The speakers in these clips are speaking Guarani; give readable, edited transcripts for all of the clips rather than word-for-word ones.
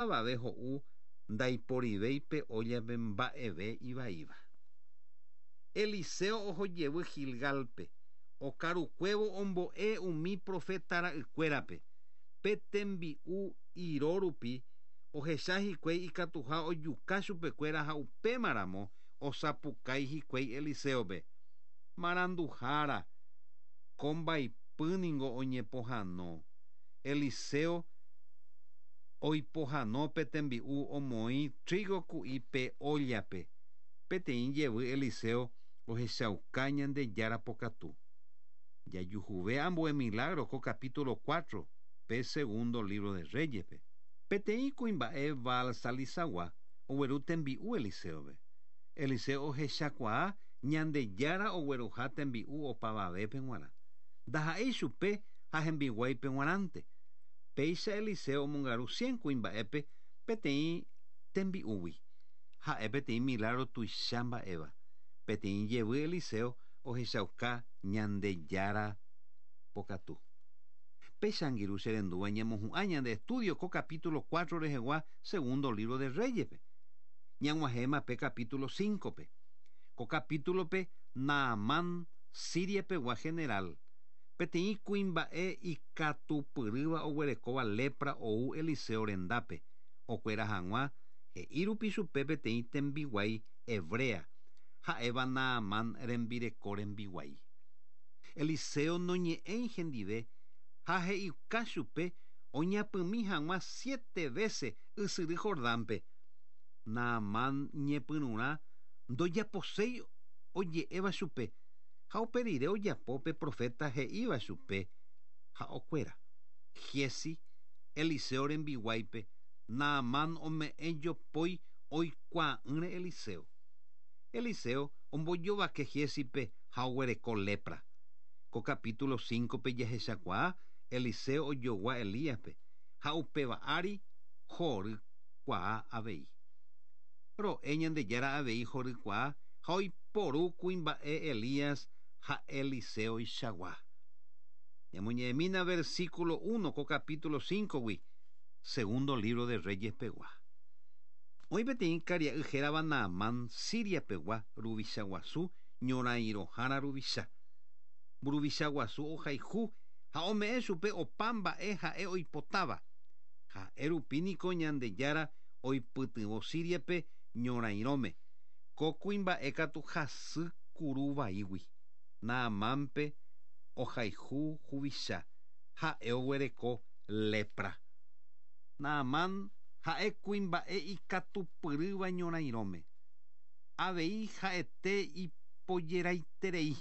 Opavave ho'u ndaiporivéi pe óllape mba'eve ivaíva. Eliseo oho jevy Gilgálpe, okarukuévo ombo'e umi proféta ra'ykuérape. Pe tembi'u iro rupi ohecha hikuái ikatuha ojuka chupekuéra ha upémaramo osapukái hikuái Eliséope, Maranduhára, ko mbaipy ningo oñepohãno. Eliseo oipohãno pe tembi'u omoĩ trígo ku'i pe óllape. Peteĩ jevy Eliseo ohechauka Ñandejára pokatu. Jajuhuve ambue milagro ko capítulo cuatro pe segundo libro de Reyes-pe. Peteĩ kuimba'e Baal-Salisagua ogueru tembi'u Eliseo-pe. Eliseo ohechakuaa Ñandejára ogueruha tembi'u opavavépe g̃uarã. Ndaha'éi chupe ha hembiguáipe g̃uarãnte. Péicha Eliseo omongaru cien kuimba'épe peteĩ tembi'úgui. Ha'e peteĩ milágro tuicha mba'éva. Peteĩ jevy Eliseo ohechauka Ñandejára pokatu. Péicha angirũ che rendúva ñamohu'ã ñande estudio ko capítulo cuatro rehegua segundo libro de Reyes-pe. Ñag̃uahẽma pe capítulo cinco-pe. Ko capítulo-pe Naamán, Siria pegua general, peteĩ kuimba'e ikatupyrýva oguerekóva lepra ou Eliseo rendápe, okuera hag̃ua, he'i rupi chupe peteĩ tembiguái hebrea, ha'éva Naamán rembireko rembiguái. Eliseo noñe'ẽi hendive ha he'iuka chupe oñapymi hag̃ua siete vése ysyry Jordánpe. Naamán ñepyrũrã ndojaposéi oje'éva chupe, ha upe rire ojapo pe proféta he'íva chupe ha okuera. Giezi, Eliseo rembiguáipe, Naamán ome'ẽ jopói oikuaa'ỹre Eliseo. Eliseo ombojovake Giézipe ha oguereko lépra. Ko capítulo cíncope jahechakuaa Eliseo ojogua Elíaspe, ha upéva ári hory kuaa avei. Ro'e Ñandejára avei hory kuaa ha oiporu kuimba'e Elías ha Eliseoichagua. Ñamoñe'ẽmína versículo uno ko capítulo cíncogui, segundo libro de Reyes pegua. Oĩ peteĩ karia'y hérava Naamán, Siria pegua ruvicha guasu, ñorãirõhára ruvicha. Mburuvicha guasu ohayhu ha ome'ẽ chupe opa mba'e ha'e oipotáva. Ha'e rupi niko Ñandejára oipytyvõ Síriape ñorãirõme. Ko kuimba'e katu hasy kuru vaígui. Naamánpe ohayhu huvicha, ha'e oguereko lépra. Naamán ha'e kuimba'e ikatupyrýva ñorãirõme. Avei ha'ete ipojeraiterei.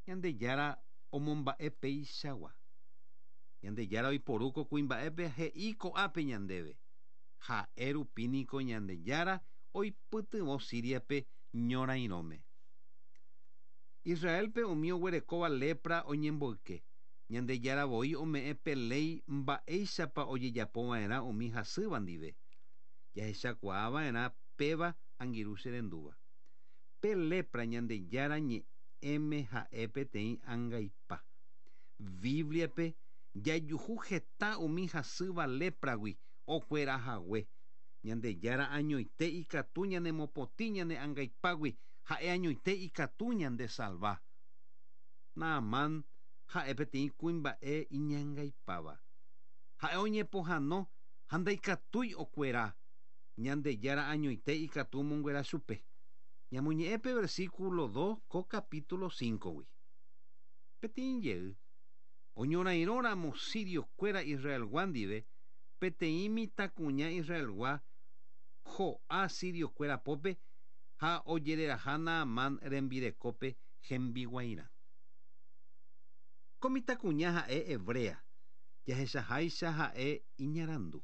Ñandejára omomba'e peichagua. Ñandejára oiporu ko kuimba'épe he'i ko'ápe ñandéve, Ha'e rupi niko Ñandejára oipytyvõ Síriape ñorãirõme. Israélpe umi oguerekóva lépra oñemboyke. Ñandejára voi ome'ẽ pe léi mba'éichapa ojejapo va'erã umi hasýva ndive. Jahechakuaa va'erã péva angirũ che rendúva. Pe lépra Ñandejára ñe'ẽme ha'e peteĩ angaipa. Bíbliape jajuhu heta umi hasýva lépragui okuera hague. Ñandejára añoite ikatu ñanemopotĩ ñane angaipágui, ha'e añoite ikatu ñandesalva. Naamán ha'e peteĩ kuimba'e iñangaipáva. Ha'e oñepohãno ha ndaikatúi okuera. Ñandejára añoite ikatu omonguera chupe. Ñamoñe'ẽ pe versículo dos ko capítulo cíncogui. Peteĩ jey, oñorairõ ramo sirio kuéra Israelgua ndive, peteĩ mitãkuña Israelgua ho'a sirio kuéra pópe ha ojereraha Naamán rembirekópe hembiguairã. Ko mitãkuña ha'e hebrea, jahechaháicha ha'e iñarandu.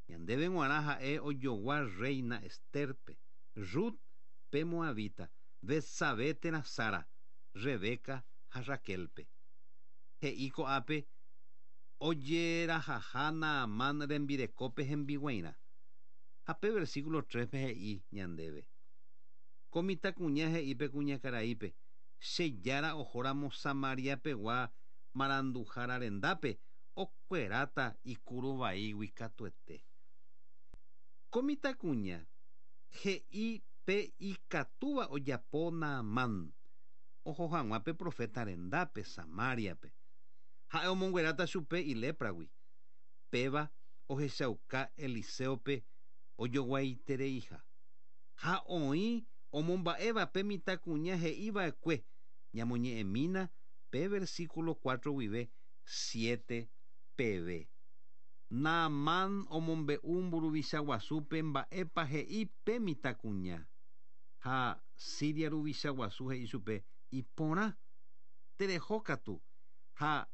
Ñandéve g̃uarã ha'e ojogua rréina Estérpe, Rut pe moabita, Betsabé térã Sara, Rebeca ha Raquélpe. He'i ko'ápe ojerahaha Naamán rembirekópe hembiguairã. Ha pe versículo tréspe he'i ñandéve, Ko mitãkuña he'i pe kuñakaraípe, Che Jára ohóramo Samaria pegua maranduhára rendápe, okueráta ikuru vaígui katuete. Ko mitãkuña he'i pe ikatúva ojapo Naamán oho hag̃ua pe proféta rendápe Samáriape. Ha'e omongueráta chupe ilépragui. Péva ohechauka Eliséope ojoguaitereiha. Ha oĩ omomba'éva pe mitãkuña he'i va'ekue, ñamoñe'ẽmína pe versíkulo cuatro guive siete peve. Naamán omombe'u mburuvicha guasúpe mba'épa he'i pe mitãkuña. Ha Siria ruvicha guasu he'i chupe, Iporã, tereho katu, ha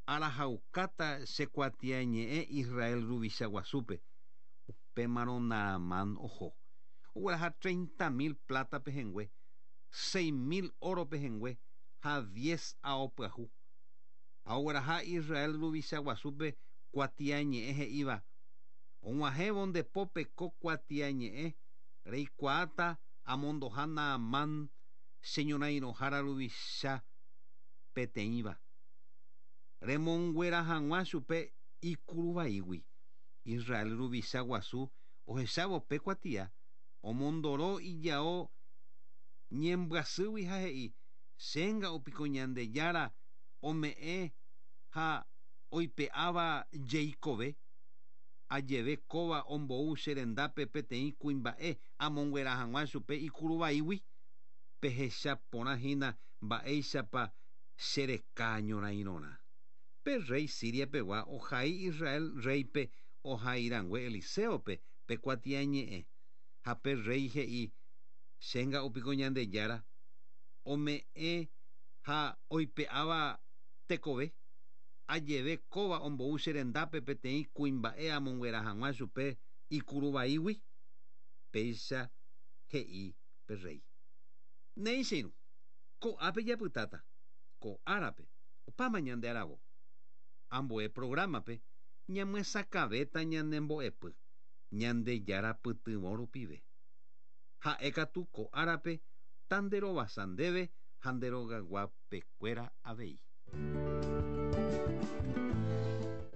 arahaukáta che kuatiañe'ẽ Israel ruvicha guasúpe. Upémarõ Naamán oho. Ogueraha treinta mil pláta pehẽngue, seis mil óro pehẽngue ha diez ao pyahu. Ha ogueraha Israel ruvicha guasúpe kuatiañe'ẽ he'íva, Og̃uahẽvo nde pópe ko kuatiañe'ẽ, reikuaáta amondoha Naamán che ñorãirõhára ruvicha peteĩva, remonguera hag̃ua chupe ikuru vaígui. Israel ruvicha guasu ohechávo pe kuatia, omondoro ijao ñembyasýgui ha he'i, Chénga'u piko Ñandejára ome'ẽ ha oipe'áva jeikove, ajeve kóva ombou che rendápe peteĩ kuimba'e amonguera hag̃ua chupe ikuru vaígui? Pehecha porã hína mba'éichapa che reka ñorãirõrã. Pe rréi Siria pegua ohai Israel rréipe ohai rangue Eliséope pe kuatiañe'ẽ. Ha pe rréi he'i, Chénga'u piko Ñandejára ome'ẽ ha oipe'áva tekove, ajeve kóva ombou che rendápe peteĩ kuimba'e amonguera hag̃ua chupe ikuru vaígui? Péicha he'i pe rréi. Néi che irũ, ko'ápe japytáta, ko árape, opáma ñande aravo. Ambue prográmape ñamyesakãvéta ñane mbo'epy, Ñandejára pytyvõ rupive. Ha'e katu ko árape tanderovasa ndéve ha nde rogayguapekuéra avei.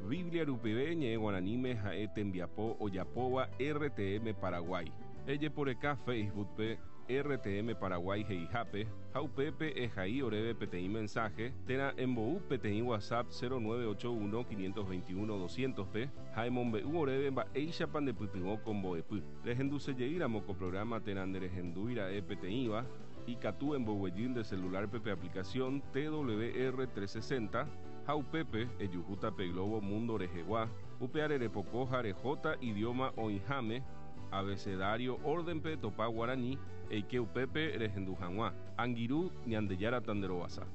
Biblia rupive ñe'ẽ guaraníme ha'e tembiapo ojapóva RTM Paraguay. Ejeporeka Facebook-pe RTM Paraguay he'ihápe ha upépe ehai oréve peteĩ mensaje térã embou peteĩ WhatsApp 0981 521 200-pe ha emombe'u oréve mba'éichapa ndepytyvõ ko mbo'epy. Rehendusejeýramo ko programa térã nderehendúi ra'e peteĩva, ikatu emboguejy nde celular-pe pe aplicación TWR 360 ha upépe ejuhúta pe globo mundo rehegua, upe arerepoko ha rehóta idioma oĩháme, abecedario orden-pe etopa guarani, eike upépe rehendu hag̃ua. Angirũ, Ñandejára tanderovasa.